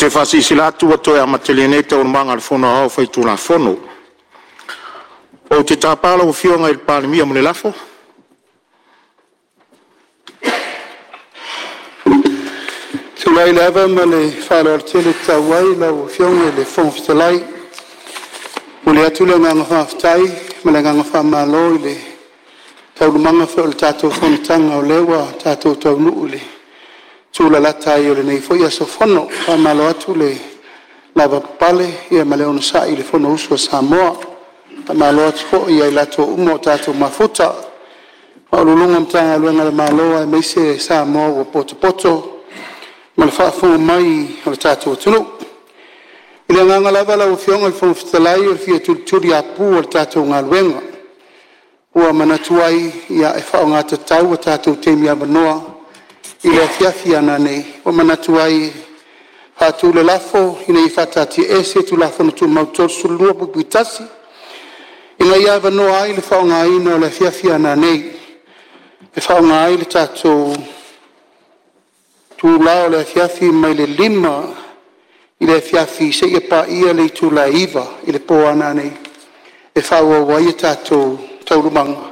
te faasilasila atu ua toe amatalia nei Taualumaga a le Fono Aoao Faitulafono. Ou te tapa lau Afioga i le Palemia mo le lafo. Ou te tulai ma le faaaloalo tele e tatau ai lau Afioga i le Fofoga Fetalai. E momoli atu le agaga faafetai ma le agaga faamalo i le taualumaga foi o le tatou fonotaga o lea ua tatou taunuu i le tulalata ai o lenei foi aso fono. Faamalo atu le lavapapale ma le onosai i le fonousu a Samoa. Faamalo atu foi ia i latou uma ua tatou mafuta, Ofisa Sili o Pulega o Matagaluega a le Malo aemaise Samoa ua potopoto ma le faafofoga mai a lo tatou atunuu. I le agaga lava lau Afioga i le Fofoga Fetalai o le fia tulituliapu o le tatou galuega, ua manatu ai e faaaoga tatau a tatou taimi avanoa i le afiafi a nanei, ua manatu ai e faatu le lafo, Ina ia faataatiaese Tulafono Tumau 32(1) ina ia avanoa ai le faaaogaina o le afiafi a nanei e faaaoga ai le tatou itula o le afiafi mai le 5:00 i le afiafi seia paia le itula e 9:00 i le po a nanei e faaauau ai a tatou taualumaga